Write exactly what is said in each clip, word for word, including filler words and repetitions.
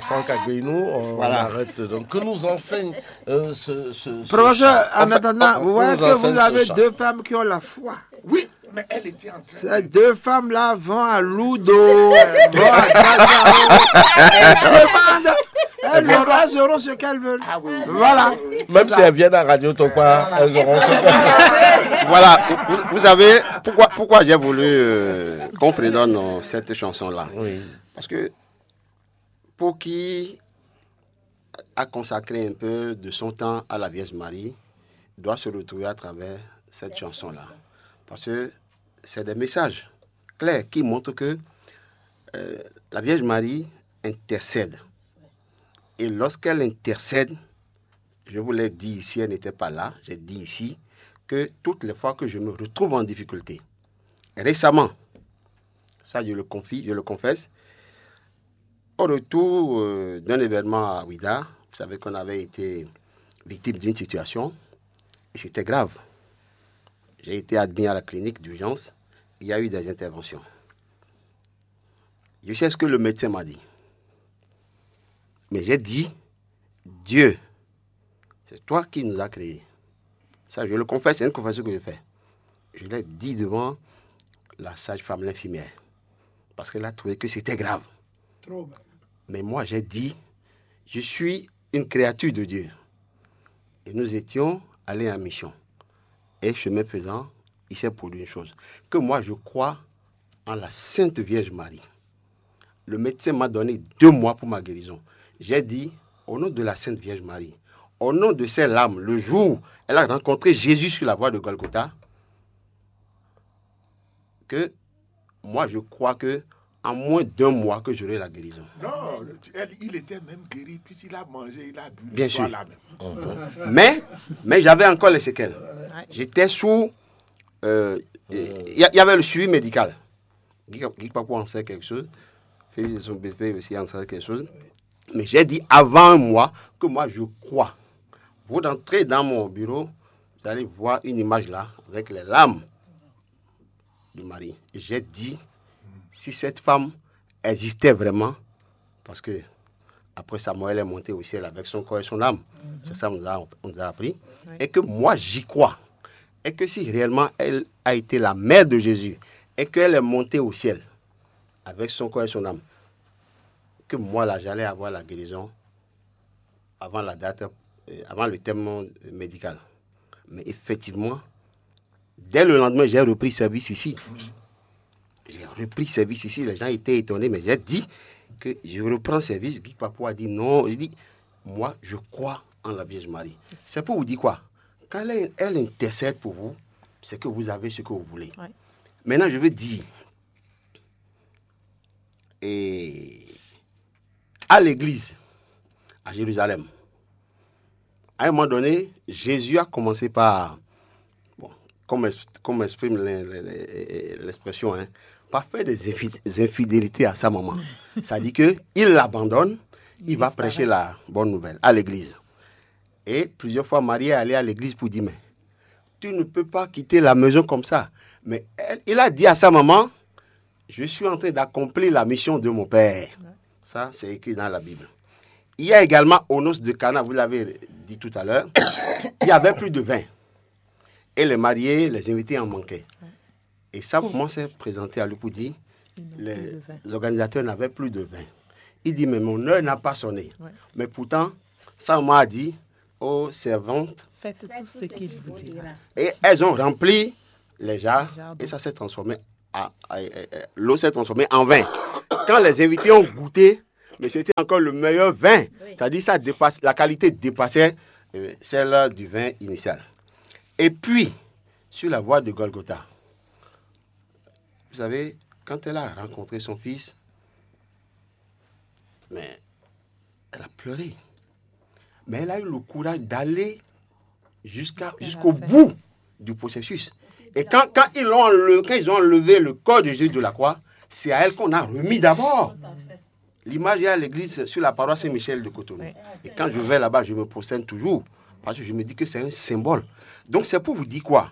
Franck Agbenou, on Voilà. Arrête. Donc, que nous enseigne euh, ce, ce, ce Professeur, chant. En Enfin, attendant, que vous voyez nous que vous enseigne avez ce chant. Deux femmes qui ont la foi. Oui, mais elle était en train. Ces deux femmes-là vont à Ludo, vont à Gazao. Elles demandent, elles, auront- elles auront ce qu'elles veulent. Ah oui, oui. Voilà. Même si elles viennent à Radio Topa, elles auront ce qu'elles Voilà, vous, vous savez pourquoi, pourquoi j'ai voulu euh, qu'on fredonne euh, cette chanson-là. Oui. Parce que pour qui a consacré un peu de son temps à la Vierge Marie doit se retrouver à travers cette chanson-là. Parce que c'est des messages clairs qui montrent que euh, la Vierge Marie intercède. Et lorsqu'elle intercède, je vous l'ai dit ici, elle n'était pas là, j'ai dit ici que toutes les fois que je me retrouve en difficulté, récemment, ça je le confie, je le confesse, au retour euh, d'un événement à Ouidah, vous savez qu'on avait été victime d'une situation et c'était grave. J'ai été admis à la clinique d'urgence, il y a eu des interventions. Je sais ce que le médecin m'a dit. Mais j'ai dit, Dieu, c'est toi qui nous as créés. Ça, je le confesse, c'est une confession que je fais. Je l'ai dit devant la sage-femme, l'infirmière, parce qu'elle a trouvé que c'était grave. Trop grave. Mais moi, j'ai dit, je suis une créature de Dieu. Et nous étions allés en mission. Et chemin faisant, il s'est produit une chose. Que moi, je crois en la Sainte Vierge Marie. Le médecin m'a donné deux mois pour ma guérison. J'ai dit, au nom de la Sainte Vierge Marie, au nom de ses larmes, le jour où elle a rencontré Jésus sur la voie de Golgotha, que moi, je crois que en moins d'un mois que j'aurai la guérison. Non, le- elle- il était même guéri puisqu'il a mangé, il a bu le Bien soir sûr. Là même. Mais, mais j'avais encore les séquelles. J'étais sous. euh, Il y, a- il y avait le suivi médical. Guy Guy Kpakpo en sait quelque chose. Félix de son B P aussi en sait quelque chose. Mais j'ai dit avant un mois que moi je crois. Vous rentrez dans mon bureau, vous allez voir une image là, avec les larmes de Marie. Et j'ai dit, si cette femme existait vraiment, parce que après Samuel est monté au ciel avec son corps et son âme. C'est ça qu'on nous a, on nous a appris. Et que moi, j'y crois. Et que si réellement elle a été la mère de Jésus, et qu'elle est montée au ciel avec son corps et son âme, que moi, là, j'allais avoir la guérison avant la date, euh, avant le terme euh, médical. Mais effectivement, dès le lendemain, j'ai repris service ici. J'ai repris service ici. Les gens étaient étonnés, mais j'ai dit que je reprends service. Guy Papou a dit non. Je dis, moi, je crois en la Vierge Marie. C'est pour vous dire quoi ? Quand elle, elle intercède pour vous, c'est que vous avez ce que vous voulez. Ouais. Maintenant, je veux dire, et à l'église, à Jérusalem, à un moment donné, Jésus a commencé par, bon, comme, ex- comme exprime l'in- l'in- l'expression, hein, par faire des infi- des infidélités à sa maman. C'est-à-dire qu'il l'abandonne, il va prêcher la bonne nouvelle à l'église. Et plusieurs fois, Marie est allée à l'église pour dire, mais tu ne peux pas quitter la maison comme ça. Mais elle- il a dit à sa maman, je suis en train d'accomplir la mission de mon père. Ça, c'est écrit dans la Bible. Il y a également au noces de Cana, vous l'avez dit tout à l'heure, il y avait plus de vin. Et les mariés, les invités en manquaient. Et sa maman s'est présentée à lui pour dire, les organisateurs n'avaient plus de vin. Il dit, mais mon heure n'a pas sonné. Ouais. Mais pourtant, sa maman a dit, oh servante, Faites tout ce qu'il vous dira. Et elles ont rempli les jarres Jarres et ça s'est transformé en, en- en- en- l'eau s'est transformée en vin. Quand les invités ont goûté, mais c'était encore le meilleur vin. C'est-à-dire ça dépasse, la qualité dépassait euh, celle du vin initial. Et puis, sur la voie de Golgotha, vous savez, quand elle a rencontré son fils, mais elle a pleuré. Mais elle a eu le courage d'aller jusqu'à, Jusqu'à jusqu'au la fin. Bout du processus. Et quand, quand, ils l'ont enlevé, quand ils ont enlevé le corps de Jésus de la croix, c'est à elle qu'on a remis d'abord. L'image est à l'église sur la paroisse Saint-Michel de Cotonou. Ouais. Et quand je vais là-bas, je me prosterne toujours. Parce que je me dis que c'est un symbole. Donc c'est pour vous dire quoi ?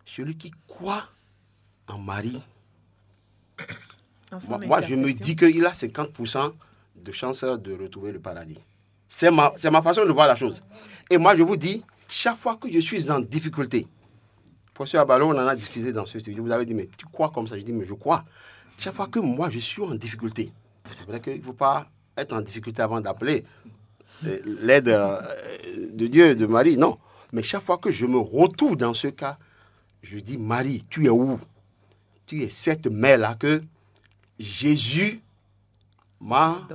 Celui qui croit en Marie, En son moi, moi, je me intercession. Dis qu'il a cinquante pour cent de chances de retrouver le paradis. C'est ma, c'est ma façon de voir la chose. Et moi, je vous dis, chaque fois que je suis en difficulté, professeur Abalo, on en a discuté dans ce studio, vous avez dit, mais tu crois comme ça? Je dis, mais je crois. Chaque fois que moi, je suis en difficulté, c'est vrai qu'il ne faut pas être en difficulté avant d'appeler euh, l'aide euh, de Dieu, de Marie, non. Mais chaque fois que je me retrouve dans ce cas, je dis, Marie, tu es où? Tu es cette mère-là que Jésus m'a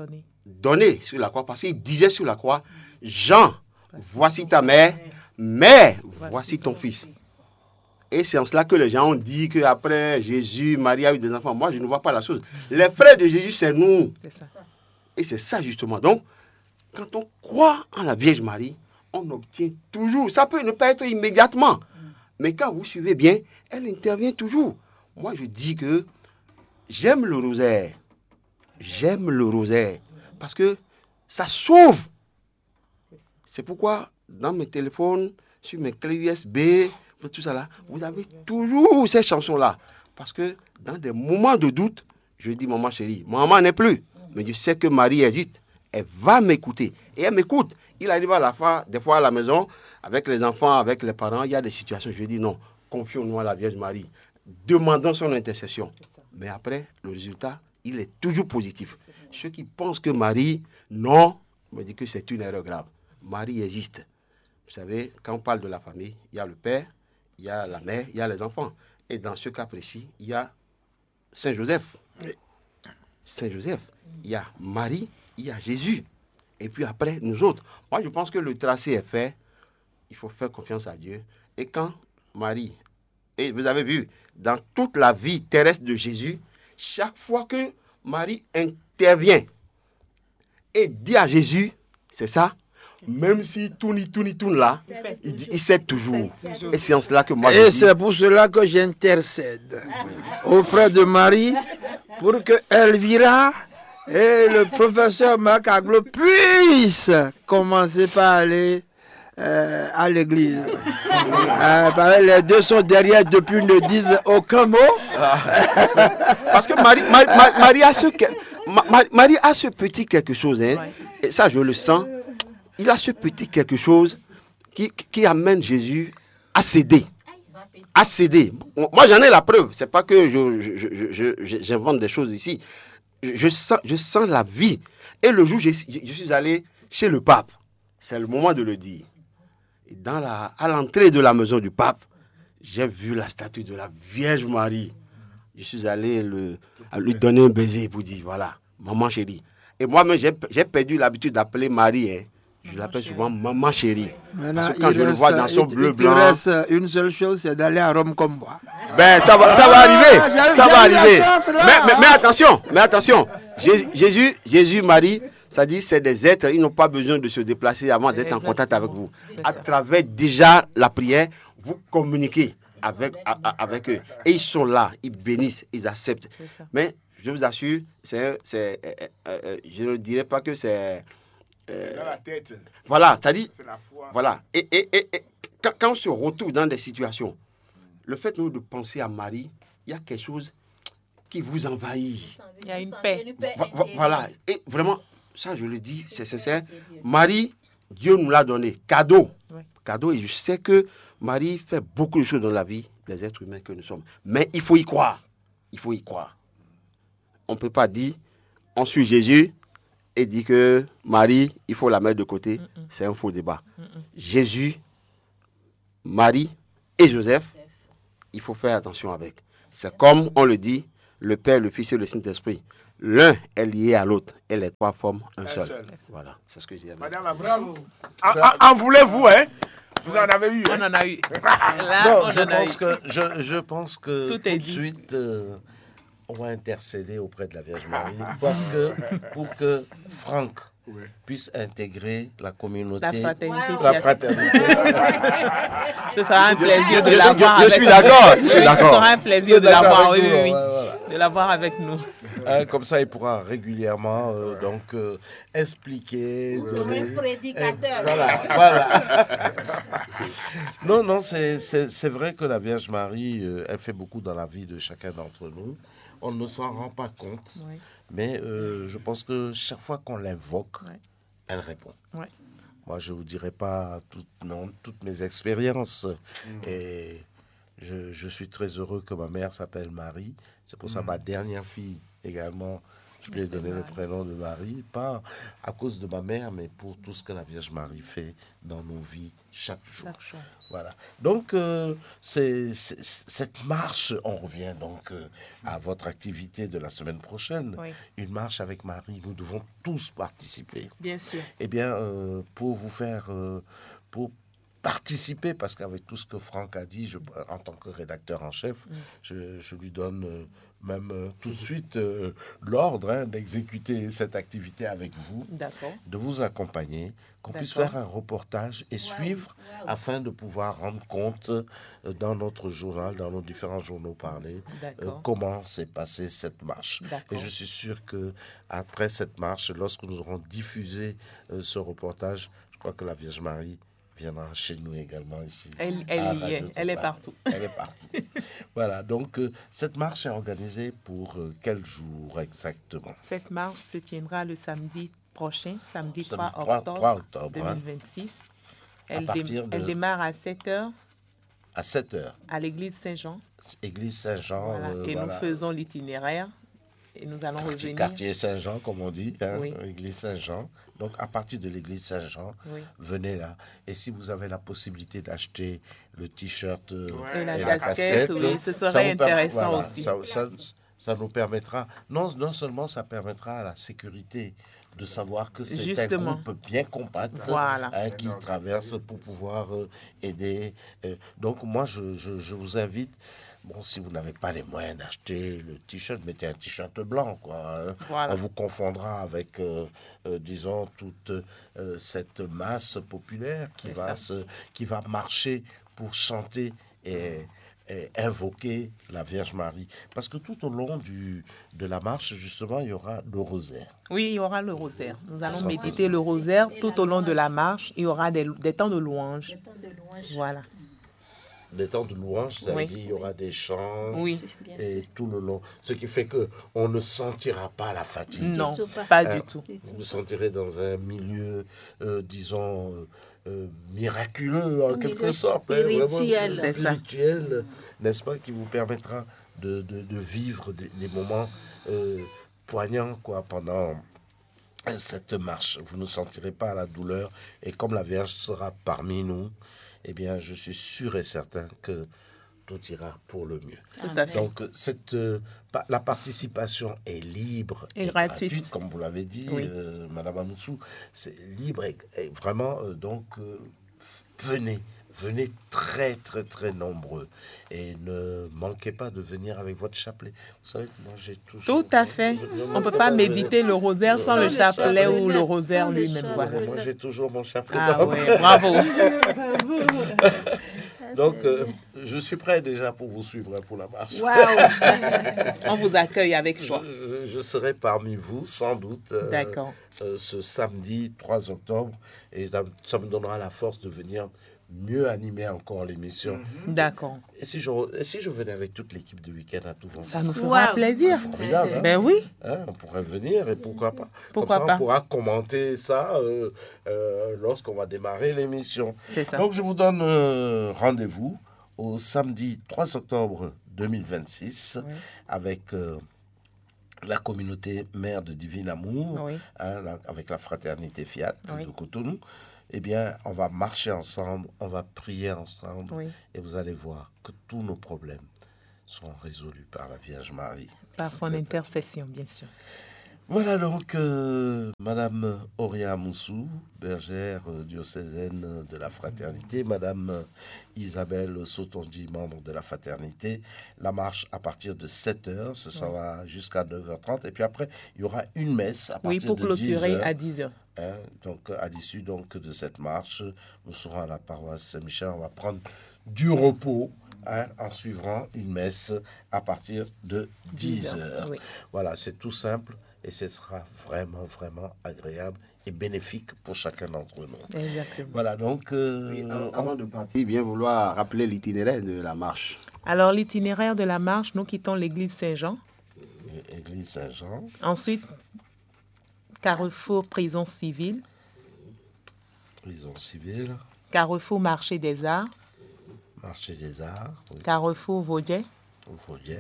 donné sur la croix, parce qu'il disait sur la croix, Jean, voici ta mère, mère, voici ton fils. Et c'est en cela que les gens ont dit qu'après Jésus, Marie a eu des enfants. Moi, je ne vois pas la chose. Les frères de Jésus, c'est nous. Et c'est ça, justement. Donc, quand on croit en la Vierge Marie, on obtient toujours. Ça peut ne pas être immédiatement. Mais quand vous suivez bien, elle intervient toujours. Moi, je dis que j'aime le rosaire. J'aime le rosaire. Parce que ça sauve. C'est pourquoi dans mes téléphones, sur mes clés U S B, tout ça là, vous avez toujours ces chansons-là. Parce que dans des moments de doute, je dis, maman chérie, maman n'est plus. Mais je sais que Marie existe. Elle va m'écouter. Et elle m'écoute. Il arrive à la fois, des fois à la maison, avec les enfants, avec les parents, il y a des situations. Je dis, non, confions-nous à la Vierge Marie. Demandons son intercession. Mais après, le résultat, il est toujours positif. Ceux qui pensent que Marie, non, me dit que c'est une erreur grave. Marie existe. Vous savez, quand on parle de la famille, il y a le père, il y a la mère, il y a les enfants. Et dans ce cas précis, il y a Saint Joseph. Saint Joseph, il y a Marie, il y a Jésus. Et puis après, nous autres. Moi, je pense que le tracé est fait. Il faut faire confiance à Dieu. Et quand Marie, et vous avez vu, dans toute la vie terrestre de Jésus, chaque fois que Marie intervient et dit à Jésus, c'est ça, même si tourne, il tourne, il tourne là, il, dit, il sait toujours. Et c'est en cela que moi je dis. Et c'est pour cela que j'intercède auprès de Marie pour que Elvira et le professeur Marc Aglo puissent commencer par aller euh, à l'église. Euh, les deux sont derrière depuis, ne disent aucun mot. Parce que Marie, Marie, Marie a ce que, Marie a ce petit quelque chose, hein, et ça je le sens. Il a ce petit quelque chose qui, qui amène Jésus à céder. À céder. Moi, j'en ai la preuve. C'est pas que je, je, je, j'invente des choses ici. Je, je, sens, je sens la vie. Et le jour, je, je suis allé chez le pape. C'est le moment de le dire. Et dans la, à l'entrée de la maison du pape, j'ai vu la statue de la Vierge Marie. Je suis allé le, lui donner un baiser pour dire, voilà, maman chérie. Et moi-même, j'ai perdu l'habitude d'appeler Marie. Hein. Je l'appelle souvent maman chérie. Parce que quand je le vois dans son bleu blanc. Il te reste une seule chose, c'est d'aller à Rome comme moi. Ben, ça va, ça va arriver. Ah, ça va arriver. Mais, mais, mais, attention, mais attention. Jésus, Jésus, Marie, ça dit, c'est des êtres, ils n'ont pas besoin de se déplacer avant d'être en contact avec vous. À travers déjà la prière, vous communiquez avec, avec eux. Et ils sont là, ils bénissent, ils acceptent. Mais je vous assure, c'est, c'est, euh, euh, je ne dirais pas que c'est. Euh, dans la tête. Voilà, ça dit. C'est la foi. Voilà. Et, et, et, et quand, quand, on se retrouve dans des situations, le fait nous de penser à Marie, il y a quelque chose qui vous envahit. Il y a une paix. Voilà. Et vraiment, ça je le dis, c'est sincère. Marie, Dieu nous l'a donné. Cadeau. Cadeau. Et je sais que Marie fait beaucoup de choses dans la vie des êtres humains que nous sommes. Mais il faut y croire. Il faut y croire. On ne peut pas dire, on suit Jésus et dire que Marie, il faut la mettre de côté. C'est un faux débat. Jésus, Marie et Joseph, il faut faire attention avec. C'est comme on le dit, le Père, le Fils et le Saint-Esprit. L'un est lié à l'autre et les trois forment un seul. Voilà, c'est ce que je dis. Madame, bravo. En, voulez-vous, hein? Vous en avez eu. Hein? On en a eu. Là, on je, en a pense eu. Que, je, je pense que tout, tout de suite, euh, on va intercéder auprès de la Vierge Marie parce que pour que Franck puisse intégrer la communauté, la fraternité. La fraternité. Ce sera un plaisir de l'avoir. Je, je, je suis d'accord. Je suis d'accord. Ce sera un plaisir de l'avoir. Oui, oui, oui. De l'avoir avec nous. Hein, comme ça, il pourra régulièrement euh, donc euh, expliquer. Comme un prédicateur. Voilà, voilà. Non, non, c'est vrai que la Vierge Marie, euh, elle fait beaucoup dans la vie de chacun d'entre nous. on ne s'en rend pas compte, mais euh, je pense que chaque fois qu'on l'invoque, elle répond. Moi, je ne vous dirai pas toutes, non, toutes mes expériences. Et je, je suis très heureux que ma mère s'appelle Marie. C'est pour ça que ma dernière fille également, je lui ai donné le prénom de Marie, pas à cause de ma mère, mais pour tout ce que la Vierge Marie fait dans nos vies chaque jour. Voilà. Donc, euh, c'est, c'est- cette marche, on revient donc euh, à votre activité de la semaine prochaine. Une marche avec Marie, nous devons tous participer. Bien sûr. Eh bien, euh, pour vous faire, euh, pour participer, parce qu'avec tout ce que Franck a dit, je- en tant que rédacteur en chef, je, je lui donne euh, même euh, tout de suite euh, l'ordre hein, d'exécuter cette activité avec vous, D'accord. De vous accompagner, qu'on puisse D'accord. Faire un reportage et suivre afin de pouvoir rendre compte euh, dans notre journal, dans nos différents journaux parlés, euh, D'accord. Comment s'est passée cette marche. Et D'accord. Je suis sûr que après cette marche, lorsque nous aurons diffusé euh, ce reportage, je crois que la Vierge Marie viendra chez nous également ici. Elle, elle à y Radio est, elle est Topa. Partout. Elle est partout. Voilà, donc euh, cette marche est organisée pour euh, quel jour exactement? Cette marche se tiendra le samedi prochain, samedi Samedi 3 3, octobre, 3 octobre, hein. deux mille vingt-six. À Elle, dé- partir de- elle démarre à sept heures À sept heures, à l'église Saint-Jean. Église Saint-Jean. Voilà. euh, Et nous voilà. Faisons l'itinéraire. Et nous allons Quartier, revenir. Quartier Saint-Jean, comme on dit, hein, Oui. Église Saint-Jean. Donc, à partir de l'église Saint-Jean, Oui. Venez là. Et si vous avez la possibilité d'acheter le t-shirt euh, Et la et casquette, oui, ce serait ça vous per- intéressant voilà, aussi. Ça, ça- ça nous permettra, non, non seulement ça permettra à la sécurité de savoir que c'est un Justement. Groupe bien compact Voilà. Hein, qui traverse pour pouvoir euh, aider. Euh, donc moi, je, je- je vous invite, bon, si vous n'avez pas les moyens d'acheter le t-shirt, mettez un t-shirt blanc, quoi. Hein. Voilà. On vous confondra avec, euh, euh, disons, toute euh, cette masse populaire qui C'est va, ça. Se, qui va marcher pour chanter et, et invoquer la Vierge Marie. Parce que tout au long du, de la marche, justement, il y aura le rosaire. Oui, il y aura le rosaire. Nous allons Bonsoir. Méditer le rosaire tout au long de la marche. Il y aura des, des temps de louange. Voilà. Des temps de louange, ça Oui. Veut dire il y aura des chants Oui. Et tout le long. Ce qui fait que on ne sentira pas la fatigue. Non, Surtout pas. Pas Euh, du tout. Vous vous sentirez dans un milieu, euh, disons, euh, euh, miraculeux en Un quelque milieu sorte, hein, vraiment spirituel. C'est ça. Spirituel, n'est-ce pas, qui vous permettra de, de- de vivre des, des moments euh, poignants quoi, pendant euh, cette marche. Vous ne sentirez pas la douleur. Et comme la Vierge sera parmi nous, eh bien, je suis sûr et certain que tout ira pour le mieux. Tout à fait. Donc, cette, euh, pa- la participation est libre Et et, gratuite. Comme vous l'avez dit, Oui. euh, Madame Amoussou, c'est libre et, et vraiment, euh, donc, euh, venez, venez très, très, très nombreux et ne manquez pas de venir avec votre chapelet. Vous savez que moi, j'ai toujours... Tout à fait. Je- je On ne manque peut pas de méditer le rosaire sans le chapelet ou le rosaire Sans le lui-même. Voilà. chapelet. Moi, j'ai toujours mon chapelet Ah dans ouais, bravo. Donc, euh, je suis prêt déjà pour vous suivre hein, pour la marche. Waouh. On vous accueille avec joie. Je, je- je serai parmi vous, sans doute, euh, D'accord. euh, ce samedi trois octobre. Et ça, ça me donnera la force de venir mieux animer encore l'émission. D'accord. Et si je, re- et si je venais avec toute l'équipe de week-end à tout vent, Ça nous Waouh. Fera plaisir. Formidable, hein. Ben oui. Hein, on pourrait venir et pourquoi pas. Pourquoi Comme ça, pas. On pourra commenter ça euh, euh, lorsqu'on va démarrer l'émission. C'est ça. Donc, je vous donne euh, rendez-vous au samedi trois octobre deux mille vingt-six Oui. avec euh, la communauté mère de Divin Amour, Oui. hein, la- avec la fraternité Fiat Oui. de Cotonou. Eh bien, on va marcher ensemble, on va prier ensemble Oui. Et vous allez voir que tous nos problèmes seront résolus par la Vierge Marie. Par son intercession, bien sûr. Voilà donc euh, Madame Auria Moussou, bergère euh, diocésaine de la fraternité, Madame euh, Isabelle Sotondi, membre de la fraternité. La marche à partir de sept heures, ce sera jusqu'à neuf heures trente. Et puis après, il y aura une messe à Oui, partir pour de dix clôturer heures. À dix heures. Hein, donc, à l'issue donc de cette marche, nous serons à la paroisse Saint-Michel. On va prendre du repos hein, en suivant une messe à partir de dix heures. Oui. Voilà, c'est tout simple et ce sera vraiment, vraiment agréable et bénéfique pour chacun d'entre nous. Exactement. Voilà, donc... euh, Oui, avant, on- avant de partir, bien vouloir rappeler l'itinéraire de la marche. Alors, l'itinéraire de la marche, nous quittons l'église Saint-Jean. Église Saint-Jean. Ensuite, carrefour prison civile, Prison civile, carrefour marché des arts, marché des arts, oui, carrefour Vaudier, Vaudier,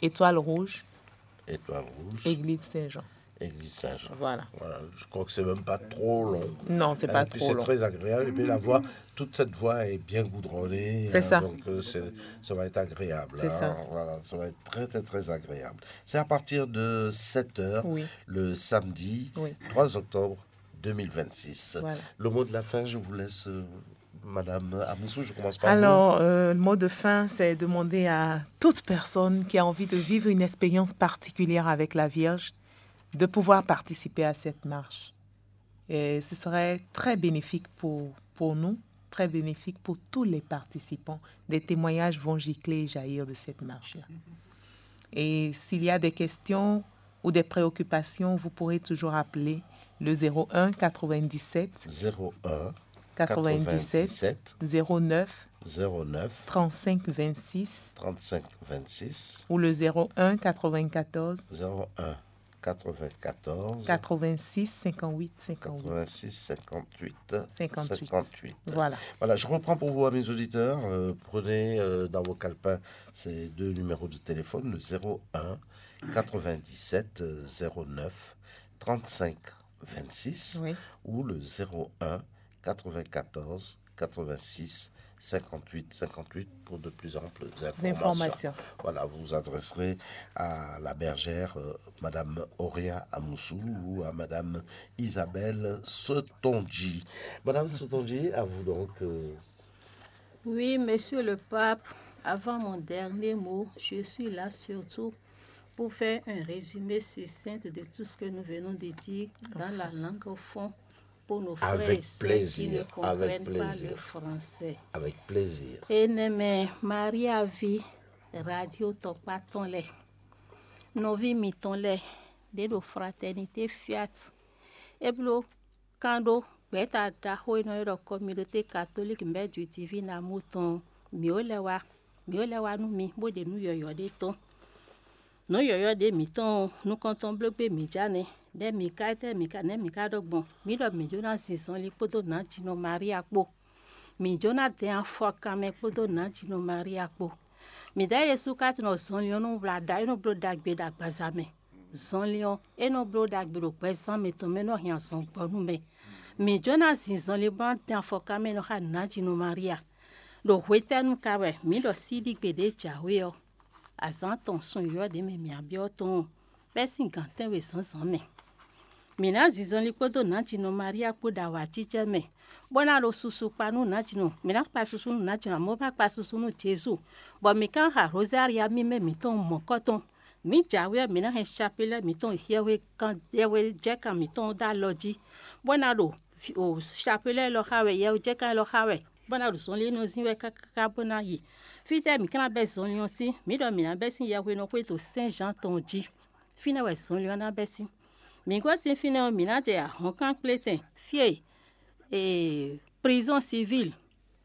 étoile rouge, étoile rouge, église Saint-Jean. Église Saint-Jean. Voilà. Voilà, je crois que c'est même pas trop long. Non, c'est pas trop long. Et puis c'est très agréable. Et puis la voie, toute cette voie est bien goudronnée. C'est ça. Donc euh, c'est- ça va être agréable. C'est ça. Voilà, ça va être très, très, très agréable. C'est à partir de sept heures, oui, le samedi, oui, trois octobre deux mille vingt-six. Voilà. Le mot de la fin, je vous laisse, euh, Madame Amoussou, je commence par vous. Alors, euh, le mot de fin, c'est demander à toute personne qui a envie de vivre une expérience particulière avec la Vierge de pouvoir participer à cette marche. Et ce serait très bénéfique pour, pour nous, très bénéfique pour tous les participants. Des témoignages vont gicler et jaillir de cette marche-là. Et s'il y a des questions ou des préoccupations, vous pourrez toujours appeler le zéro un quatre-vingt-dix-sept zéro un quatre-vingt-dix-sept quatre-vingt-dix-sept zéro neuf zéro neuf trente-cinq vingt-six trente-cinq vingt-six ou le zéro un quatre-vingt-quatorze zéro un quatre-vingt-quatorze quatre-vingt-six cinquante-huit cinquante-huit. Quatre-vingt-six cinquante-huit cinquante-huit. Cinquante-huit. Voilà. Voilà, je reprends pour vous, amis auditeurs. Euh, prenez euh, dans vos calepins ces deux numéros de téléphone, le zéro un quatre-vingt-dix-sept zéro neuf trente-cinq vingt-six, oui, ou le zéro un quatre-vingt-quatorze quatre-vingt-six cinquante-huit cinquante-huit pour de plus amples informations. Informations. Voilà, vous vous adresserez à la bergère, euh, Madame Auria Amoussou ou à Madame Isabelle Sotonji. Madame Sotonji, à vous donc. Euh. Oui, Monsieur le Pape, avant mon dernier mot, je suis là surtout pour faire un résumé succinct de tout ce que nous venons de dire dans la langue fond pour nos frères et sœurs qui ne comprennent pas le français. Avec plaisir. Enɛmɛ Maria ví radio tɔkpá tɔn lɛ, nɔví mitɔn lɛ, ɖě ɖo Fraternité Fiat, é bló kán ɖó gbɛ̌ta ɖaxó e nɔ ylɔ́ ɖɔ Communauté Catholique Mère du Divin Amour tɔn ɔ́, mǐ ó lɛ́ wá, mǐ ó lɛ́ wá nú mi bó ɖe nǔ yɔ̌yɔ́ ɖé tɔn. Nǔ yɔ̌yɔ́ ɖě mǐtɔn ɔ́, nukɔntɔn bló gbé mǐ ja nɛ́. Nɛ̌ mǐ ka, étɛ́ mǐ ka, nɛ̌ mǐ ka ɖɔ gbɔn? Mǐ ɖɔ mǐ jó ná zin zɔnlin kpódó nǎjínɔ Maria kpó. Mǐ jó ná dɛn afɔkanmɛ kpódó nǎjínɔ Maria kpó. Mǐdɛɛ Jezu ka tunɔ zɔnlin ɔ́ nɔ wlá ɖa, é nɔ bló ɖagbe ɖo agbaza mɛ. Zɔnlin ɔ́, é nɔ bló ɖagbe ɖo gbɛzán mǐtɔn mɛ, é nɔ hɛn azɔn gbɔ nú mɛ. Mǐ jó ná zin zɔnlin bó ná dɛn afɔkanmɛ nɔ xá nǎjínɔ Maria. Ɖo hwetɛ́nu ka wɛ mǐ ɖɔ síɖígbe ɖě jǎwe ɔ́, azǎn tɔn sun yɔ̌yɔ́ ɖě mɛ mǐ byɔ́ tɔn ɔ́, bɛ́ sín gǎn tɛ́nwe zǎnzǎn mɛ? Mǐ ná zin zɔnlin kpódó nǎjínɔ Maria kpó ɖo awǎjijɛ mɛ, bó ná ɖo susu kpa nú nǎjínɔ. Mǐ ná kpa susu nú nǎjínɔ, amɔ̌ bó ná kpa susu nú Jezu, bɔ mǐ ka ná xa Rozália mímɛ́ mǐtɔn mɔ̌kɔ́tɔn. Mǐ jǎwe ɔ́, mǐ ná hɛn capilɛ́ mǐtɔn yɛhwe kan yɛhwe jɛ́kan mǐtɔn dó alɔ jí, bó ná ɖo capilɛ́ élɔ́ xa wɛ, yɛhwe jɛ́kan élɔ́ xa wɛ, bó ná ɖo zɔnlin e nɔ zín wɛ káká bó ná yi. Fítɛ́ mǐ ka ná bɛ́ zɔnlin ɔ́ sín? Mǐ ɖɔ mǐ ná bɛ́ sín yɛhwe nɔ xwedó Sɛ́n Zǎan tɔn jí. Fínɛ́ wɛ zɔnlin ɔ́ ná bɛ́ sín. Mǐ gosín fínɛ́ ɔ́, mǐ ná jɛ ahɔ̌nkan kplétɛn fí e ee prizɔ́n sivíl.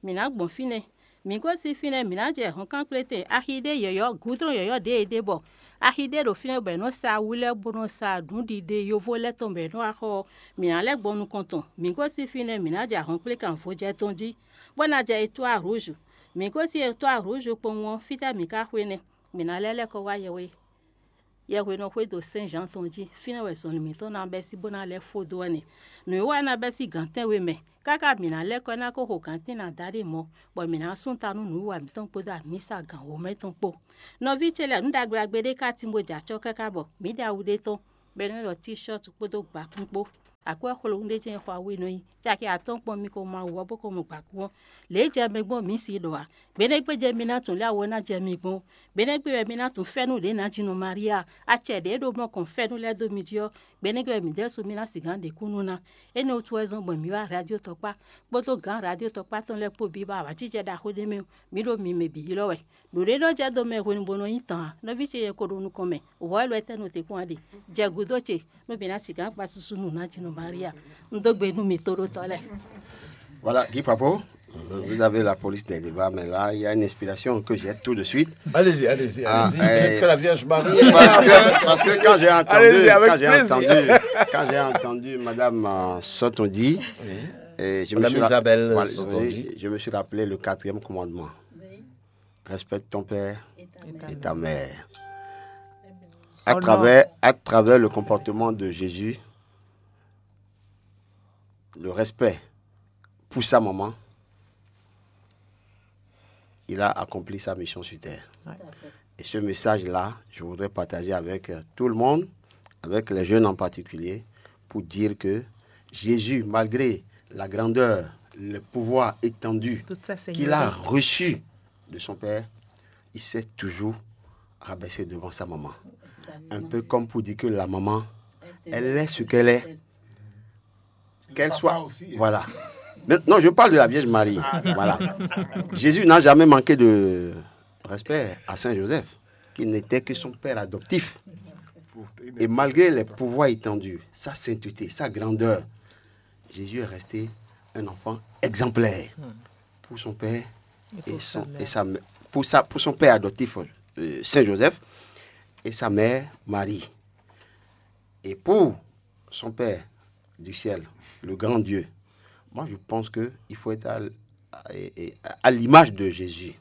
Mǐ ná gbɔn fínɛ́. Mǐ gosín fínɛ́, mǐ ná jɛ ahɔ̌nkan kplétɛn axi ɖé yɔ̌yɔ́, gǔdlɔ́n yɔ̌yɔ́ ɖě è ɖe bɔ axi ɖé ɖo fínɛ́ bɔ è nɔ sa awu lɛ́ɛ bó nɔ́ sa nǔɖiɖe yovo lɛ́ɛ tɔn bɔ è nɔ́ wá xɔ ɔ́, mǐ ná lɛ́ gbɔn nukɔn tɔn. Mǐ gosín fínɛ́, mǐ ná jɛ ahɔ̌nkplékan vojɛ tɔn jí, bó ná jɛ etwá rǔzhu. Mǐ gosín etwá rǔzhu kpowun ɔ́, fítɛ́ mǐ ka xwe nɛ́? Mǐ ná lɛ́ lɛ́ kɔ wá yɛhwe yɛhwe nɔ xwedó Sɛ́n Zǎan tɔn jí. Fínɛ́ wɛ zɔnlin mǐtɔn ná bɛ́ sín bó ná lɛ́ fó dó wɛ nɛ́. Nǔwiwa ná bɛ́ sín gǎn tɛ́nwe mɛ, káká mǐ ná lɛ́ kɔ ná ko xo gǎn tɛ́nwe ná dó ɖ'é mɔ̌, bɔ mǐ ná sú ta nú nǔwiwa mǐtɔn kpódó amǐsa gǎn wǒmɛ tɔn kpó. Nɔví ce lɛ́ɛ, nǔ ɖagbe ɖagbe ɖé ka tín bó jɛ acɔ́ káká bɔ mǐ ɖe awu ɖé tɔn, bɔ è nɔ ylɔ́ tíshɔ́ɔtu kpódó gbakún kpó. Akwɛ́ xwlowun ɖé jɛ́n xɔ awu e nɔ nyi caki atɔ́ɔ́n kpɔ́n mi ko mɔ awu ɔ́ bó ko mɔ gbakún ɔ́. Lě e jɛ mi gbɔn mǐ si ɖɔ ǎ. Gbe nɛ́ gbe jɛ mi ná tunwun lě awu ɔ́ ná jɛ mi gbɔn. Gbe nɛ́ gbe wɛ mi ná tunwun fɛ́nú ɖě nǎjínɔ Maria, acɛ ɖě e ɖo mɔ kɔn fɛ́nú lɛ́ɛ dó mi jí ɔ́, gbe nɛ́ gbe wɛ mǐ ɖésú mi ná sixú ɖe kúnnu ná. Énɛ́ wútu wɛ zɔ́n gbɔn mǐ wá radio tɔkpá kpódó gǎn radio tɔkpá tɔn lɛ́ɛ kpó bǐ ba awǎjijɛ ɖaxó ɖé mɛ ɔ́, mǐ ɖo mi mɛ bǐ ylɔ́ wɛ. Nǔɖé nɔ jɛ dó mɛ hwenu bó nɔ nyí tɔn ǎ. Nɔví ce yɛ ko ɖo nukɔn mɛ, wɔ̌ wɛ lɔ étɛ́ nɔ te kpɔ́n ǎ ɖe? Jɛ gǔdo ce, nú mǐ ná sixú kpa susu nú nǎjínɔ Maria. Un dó gbe nú mi tóɖótɔ́ lɛ́ɛ. Voilà, Guy Papo. Vous avez la police des débats, mais là, il y a une inspiration que j'ai tout de suite. Allez-y, allez-y, Ah, allez-y. Eh, que la Vierge Marie. Parce que, parce que quand j'ai entendu, allez-y, avec quand j'ai plaisir. Entendu, quand j'ai entendu Madame euh, Sotondi, oui. Et je Madame me suis Isabelle voilà, Sotondi. Je me suis rappelé le quatrième commandement. Oui. Respecte ton père et ta mère. Et ta mère. À travers, à travers le comportement de Jésus, le respect pour sa maman, il a accompli sa mission sur terre. Ouais. Et ce message-là, je voudrais partager avec euh, tout le monde, avec les jeunes en particulier, pour dire que Jésus, malgré la grandeur, le pouvoir étendu qu'il a reçu de son Père, il s'est toujours rabaissé devant sa maman. Un peu comme pour dire que la maman, elle est ce qu'elle est. Qu'elle soit. Aussi, hein. Voilà. Mais, non, je parle de la Vierge Marie. Ah, voilà. Jésus n'a jamais manqué de respect à Saint Joseph, qui n'était que son père adoptif. Et malgré les pouvoirs étendus, sa sainteté, sa grandeur, Jésus est resté un enfant exemplaire pour son père et, son, et sa, pour, sa, pour son père adoptif, euh, Saint Joseph, et sa mère Marie. Et pour son Père du ciel, le grand Dieu, moi je pense qu'il faut être à, à, à l'image de Jésus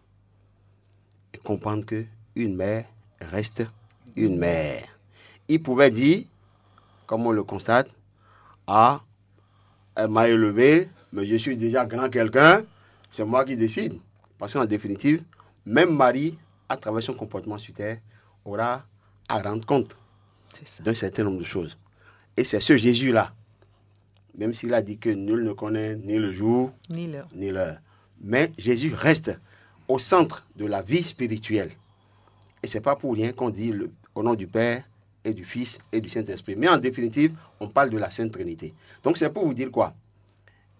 et comprendre que une mère reste une mère. Il pouvait dire, comme on le constate, ah, elle m'a élevé, mais je suis déjà grand quelqu'un, c'est moi qui décide. Parce qu'en définitive, même Marie, à travers son comportement sur terre, aura à rendre compte d'un certain nombre de choses. Et c'est ce Jésus-là, même s'il a dit que nul ne connaît ni le jour, ni l'heure. Ni l'heure. Mais Jésus reste au centre de la vie spirituelle. Et c'est pas pour rien qu'on dit le, au nom du Père et du Fils et du Saint-Esprit. Mais en définitive, on parle de la Sainte Trinité. Donc c'est pour vous dire quoi ?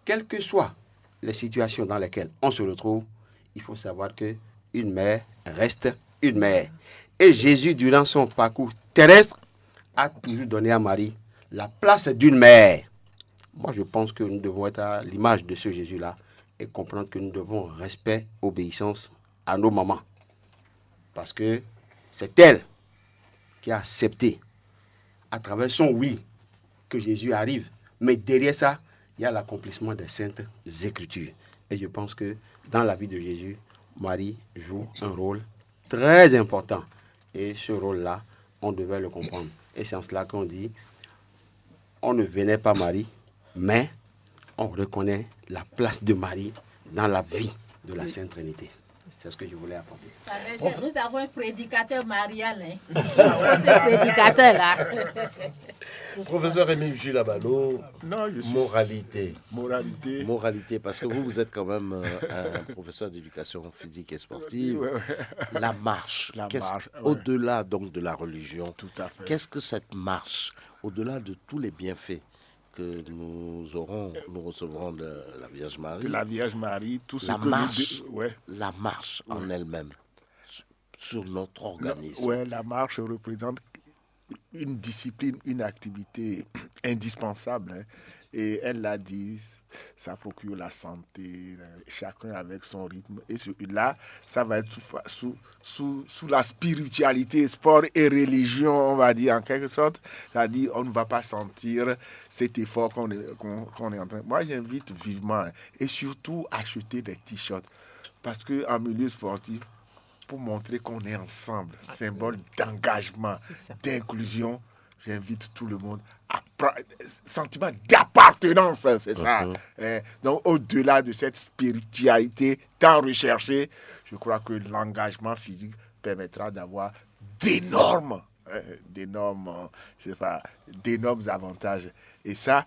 Quelles que soient les situations dans lesquelles on se retrouve, il faut savoir que une mère reste une mère. Et Jésus, durant son parcours terrestre, a toujours donné à Marie la place d'une mère. Moi, je pense que nous devons être à l'image de ce Jésus-là et comprendre que nous devons respect, obéissance à nos mamans. Parce que c'est elle qui a accepté, à travers son oui, que Jésus arrive. Mais derrière ça, il y a l'accomplissement des saintes écritures. Et je pense que dans la vie de Jésus, Marie joue un rôle très important. Et ce rôle-là, on devait le comprendre. Et c'est en cela qu'on dit, on ne venait pas Marie, mais on reconnaît la place de Marie dans la vie de la Sainte Trinité. C'est ce que je voulais apporter. Nous avons un prédicateur marial. Hein. C'est ce prédicateur-là. Professeur Rémi Gilabalo, non, je suis... moralité. Moralité. Moralité, parce que vous, vous êtes quand même euh, un professeur d'éducation physique et sportive. Ouais, ouais. La marche, la marche ouais. Au-delà donc de la religion, tout à fait. Qu'est-ce que cette marche, au-delà de tous les bienfaits que nous aurons, nous recevrons de la Vierge Marie. De la Vierge Marie, tout ce la que marche, nous... ouais. La marche ouais. En elle-même, sur notre organisme. Oui, la marche représente une discipline, une activité indispensable. Hein. Et elle l'a dit, ça procure la santé, chacun avec son rythme. Et là, ça va être sous, sous, sous, sous la spiritualité, sport et religion, on va dire en quelque sorte. C'est-à-dire, on ne va pas sentir cet effort qu'on est, qu'on, qu'on est en train. Moi, j'invite vivement, hein, et surtout acheter des t-shirts. Parce qu'en milieu sportif, pour montrer qu'on est ensemble, symbole d'engagement, d'inclusion, j'invite tout le monde à sentiment d'appartenance, c'est ça. Hein. Donc au-delà de cette spiritualité tant recherchée, je crois que l'engagement physique permettra d'avoir d'énormes, hein, d'énormes, je sais pas, d'énormes avantages. Et ça,